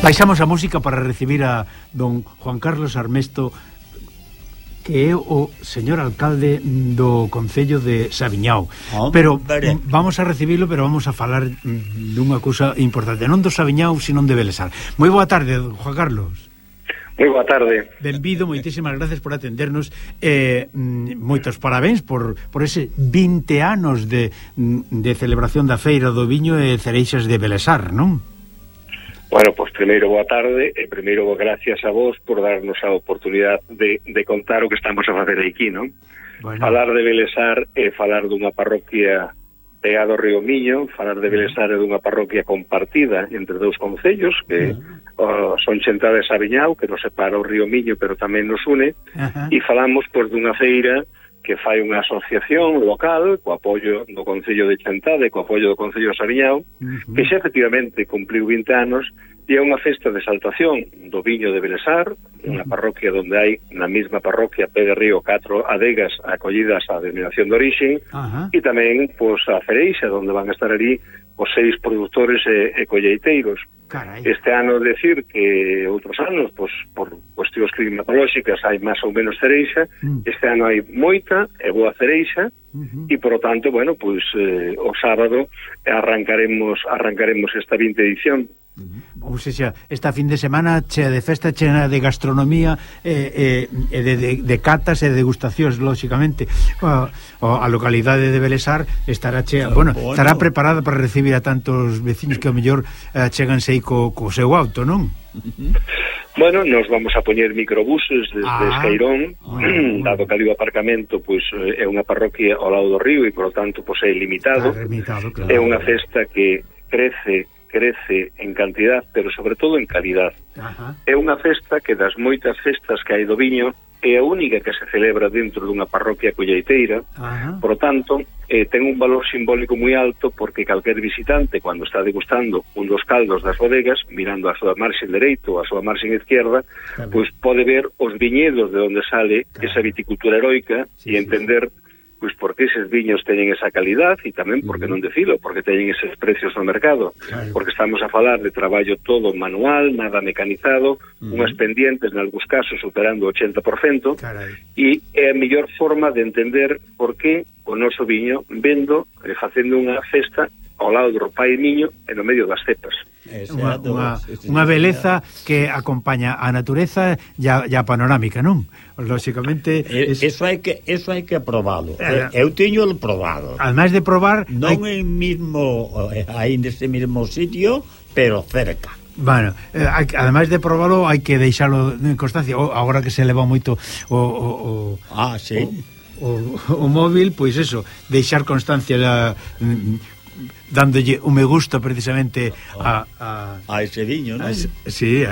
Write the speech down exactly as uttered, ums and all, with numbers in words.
baixamos a música para recibir a don Juan Carlos Armesto, que é o señor alcalde do Concello de Saviñao. Oh, pero vale. Vamos a recibilo, pero vamos a falar dunha cousa importante, non do Saviñao, sino de Belesar. Moi boa tarde, Juan Carlos. Moi boa tarde. Benvido, moitísimas gracias por atendernos. Eh, moitos parabéns por, por ese vinte anos de, de celebración da Feira do Viño e Cereixas de Belesar, non? Bueno, pois primeiro boa tarde e primeiro gracias a vos por darnos a oportunidade de, de contar o que estamos a facer aquí, non? Bueno. Falar de Belesar é falar dunha parroquia pegado ao río Miño, falar de Belesar é dunha parroquia compartida entre dous concellos que uh, son Xenta de Saviñao, que nos separa o río Miño pero tamén nos une, uh-huh. E falamos pois dunha feira que fai unha asociación local co apoio do Concello de Chantade, co apoio do Concello de Saviñao, uh-huh. que xa efectivamente cumpliu vinte anos, e é unha festa de exaltación do viño de Belesar, unha uh-huh. parroquia onde hai na mesma parroquia pé de río catro adegas acollidas á denominación de orixe, uh-huh. e tamén pois a Cereixa, onde van a estar ali os seis produtores e, e colleiteiros. Carai. Este ano decir que outros anos, pois, por cuestións climatolóxicas hai máis ou menos cereixa, mm. este ano hai moita e boa cereixa, uh-huh. e por lo tanto, bueno, pois eh, o sábado arrancaremos arrancaremos esta vinte edición. Ou seja, esta fin de semana chea de festa, chea de gastronomía e, e, e de, de, de catas e degustacións, lóxicamente. A, a localidade de Belesar estará chea, bueno, bueno, estará preparada para recibir a tantos veciños que ao mellor eh, cheganse aí co, co seu auto, non? Bueno, nos vamos a poñer microbuses desde ah, Esqueirón, bueno, dado que ali o aparcamento pois é unha parroquia ao lado do río e, por lo tanto, pois é limitado. Ah, limitado, claro. É unha festa que crece crece en cantidad, pero sobre todo en calidad. Ajá. É unha festa que das moitas festas que hai do viño é a única que se celebra dentro dunha parroquia colleiteira. Ajá. Por lo tanto, eh, ten un valor simbólico moi alto porque calquer visitante, cando está degustando un dos caldos das bodegas, mirando a súa marxen dereito ou a súa marxen izquierda, claro, pois pode ver os viñedos de onde sale, claro, esa viticultura heroica, sí, e entender sí, pois porque eses viños teñen esa calidad e tamén, porque non decilo, porque teñen eses precios no mercado, claro, porque estamos a falar de traballo todo manual, nada mecanizado, uh-huh, unhas pendientes, nalgúns casos, superando o ochenta por cento, carai, e é a mellor forma de entender por que o noso viño vendo e facendo unha festa ao lado do pai e miño e no medio das cepas. Unha, unha, unha beleza que acompaña a natureza e a, e a panorámica, non? Lóxicamente es... eso hai que eso hai que probalo. Eh, eu teño el probado. Ademais de probar, non hai... en mismo aí nese mismo sitio, pero cerca. Bueno, eh, ademais de probalo, hai que deixalo en constancia. O, agora que se leva moito o, o, o ah, sí. O, o, o móvil, pois eso, deixar constancia da, dándolle un me gusta precisamente a, a, a ese viño, non? A, sí,